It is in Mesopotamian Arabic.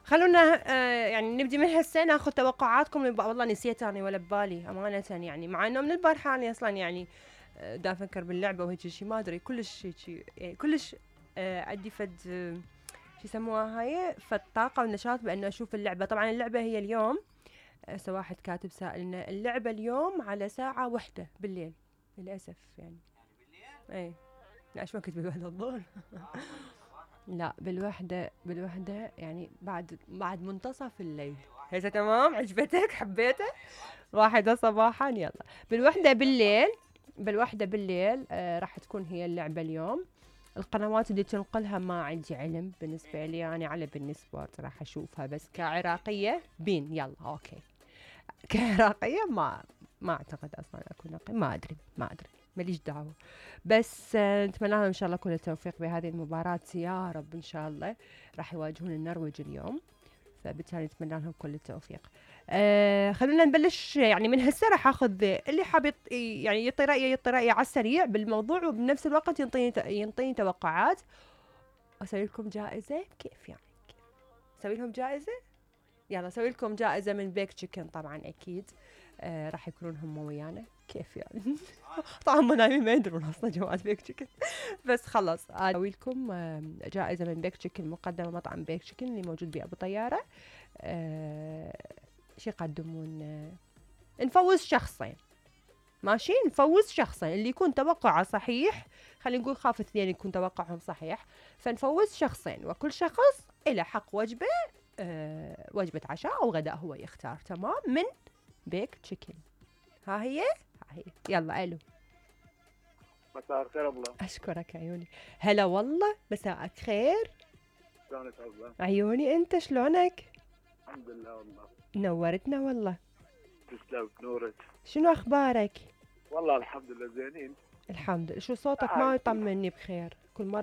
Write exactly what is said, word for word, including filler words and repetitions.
خلونا آه يعني نبدي من هسه ناخذ توقعاتكم. والله نسيت انا ولا ببالي امانه، يعني مع انه من البارحه انا اصلا يعني آه دا افكر باللعبه وهيك شيء، ما ادري كلش هيك يعني كلش آه عندي فد آه شو يسموها هاي، فد طاقه ونشاط بانه اشوف اللعبه. طبعا اللعبه هي اليوم، هسه واحد كاتب سائلنا اللعبه اليوم على ساعه واحدة بالليل للاسف يعني. اي لا شو وقت بالوحدة الظهر لا بالوحدة، بالوحدة يعني بعد بعد منتصف الليل. هسه تمام عجبتك حبيته؟ واحدة صباحا يلا بالوحدة بالليل. بالوحدة بالليل آه راح تكون هي اللعبة اليوم. القنوات اللي تنقلها ما عندي علم بالنسبة لي، يعني على بالنسبة راح أشوفها بس كعراقية بين يلا أوكي. كعراقية ما ما أعتقد أصلا أكون نقي، ما أدري ما أدري ماليش دعوة. بس آه نتمنى لهم إن شاء الله كل التوفيق بهذه المباراة يا رب إن شاء الله. راح يواجهون النرويج اليوم، فبالتالي نتمنى لهم كل التوفيق. آه خلونا نبلش يعني من هسه. راح اخذ اللي حاب يط... يعني يعطي رايه يعطي رايه على السريع بالموضوع، وبنفس الوقت ينطيني ينطيني توقعات. اسوي لكم جائزه كيف يعني؟ كيف اسوي لهم جائزه؟ يلا اسوي لكم جائزه من بيك تشيكن طبعا اكيد. آه راح يكونون هم ويانا كيف يعني طبعا هم نايمين ما يدرون اصلا جوات بيك تشيكن بس خلص اسوي لكم آه جائزه من بيك تشيكن مقدمه مطعم بيك تشيكن اللي موجود بابو طياره. آه شي يقدمون آه نفوز شخصين ماشي، نفوز شخصين اللي يكون توقعه صحيح. خلينا نقول خاف اثنين يكون توقعهم صحيح، فنفوز شخصين وكل شخص له حق وجبه، أه وجبه عشاء او غداء هو يختار. تمام من بيك تشيكن. ها هي ها هي يلا الو. مساء الخير ابله. اشكرك عيوني. هلا والله مساءك خير. شلونك ابله؟ عيوني انت شلونك؟ الحمد لله والله. نورتنا والله. تسلم نورك. شنو اخبارك؟ والله الحمد لله زينين. الحمد لله. شو صوتك ما يطمني بخير كل مرة